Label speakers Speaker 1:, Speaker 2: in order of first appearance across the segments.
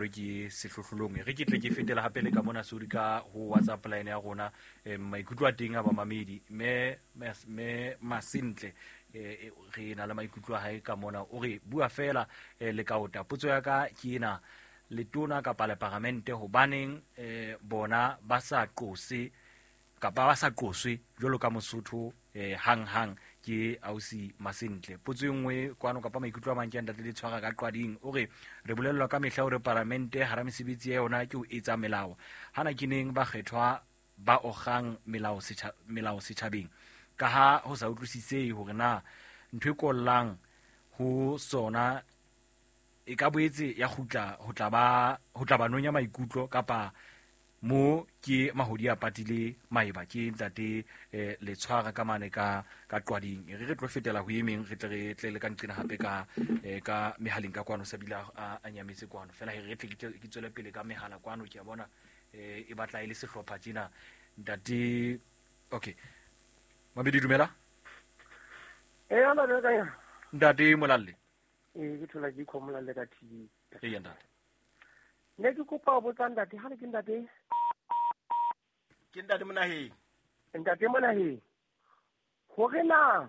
Speaker 1: Ke sehlohlolong re ke tle ke fetela hape le ka mona sori ka ho WhatsApp line ya rona, maikutlo a teng a bamamedi me me masentle, re na le maikutlo a hae ka mona. O re bua fela, le kaota potso ya ka ke ena: letona kapa le paramente, hobaneng bona ba sa qose kapa ba sa qoswe jwalo ka Mosotho hang hang? Ke ausi Masentle. Potso e nngwe kwano kapa maikutlo a mang ke a ntate le tshwara ka Qwading. O re re bolellwa ka mehla hore paramente hara mesebetsi ya yona ke ho etsa melao. Hana ke neng bakgethwa ba ogang melao melao setjhabeng, ka ha ho sa utlwisisehe hore na ntho e kollang ho sona e ka boetse ya kgutla ho tla ba nonya maikutlo kapa mo ke mahodi a patile maeba. Ke ntate Letshwara ka mane ka Qwading. Re tlo fetela ho emeng, re tle re tle le ka nqena hape ka mehaleng ka kwano sabile a nyametse kwano fela. Re tle ke tswele pele ka mehala kwano. Ke a bona e batla e le sehlopha tjena, ntate. Okay, mabedi, dumela.
Speaker 2: Eh, ala le ka ya.
Speaker 1: Ntate Molalle.
Speaker 2: Eh, ke thola ke Molalle ka TV.
Speaker 1: Ee, ntate.
Speaker 2: Ne ke kopa ho botsa ntate, ha re ke ntate.
Speaker 3: Ke ntate Monaheng.
Speaker 2: Ntate Monaheng. Hore na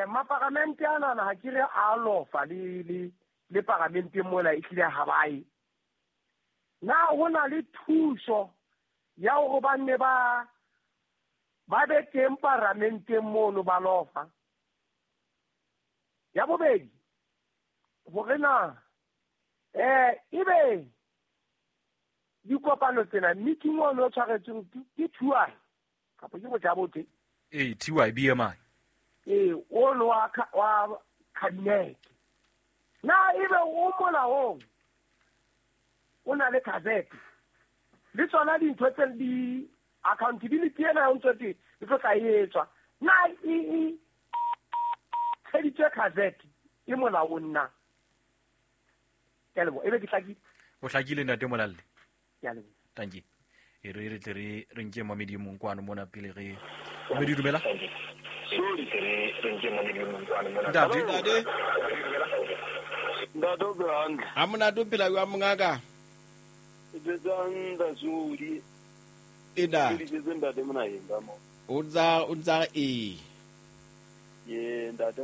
Speaker 2: maparamente ana na ha ke re a lofa le paramente mona e tlile ha bae. Na ho na le thuso ya hore ba nne ba be teng paramenteng mono ba lofa? Ya bobedi, hore na ebe dikopano tsena, meeting ono o tshwaretsweng ke TY kapa ke bojabothe?
Speaker 1: Ee, TY BMI.
Speaker 2: Ee, ono wa cabinet, na ebe o molaong, o na le gazette le tsona dintho tse di accountability ena o ntse e tlo tla e etswa, na e tsheditswe gazette, e molaong na? Ke a leboha, ebe ke hlakile?
Speaker 1: O hlakile, ntate Molalle.
Speaker 2: Ke a leboha.
Speaker 1: Thank you. E re tle re nke mamedi e mong kwano mona pele re mamedi. Dumela, ntate.
Speaker 3: Ntate.
Speaker 4: Ntate, o phela hantle?
Speaker 3: Ha monate, o phela jwang, mongaka?
Speaker 4: E betsang ntasudi.
Speaker 3: E
Speaker 4: Ke
Speaker 3: ntate.
Speaker 4: Ditsetse ntate Monaheng ka mo.
Speaker 3: O ntsa ee.
Speaker 4: Ye ntate.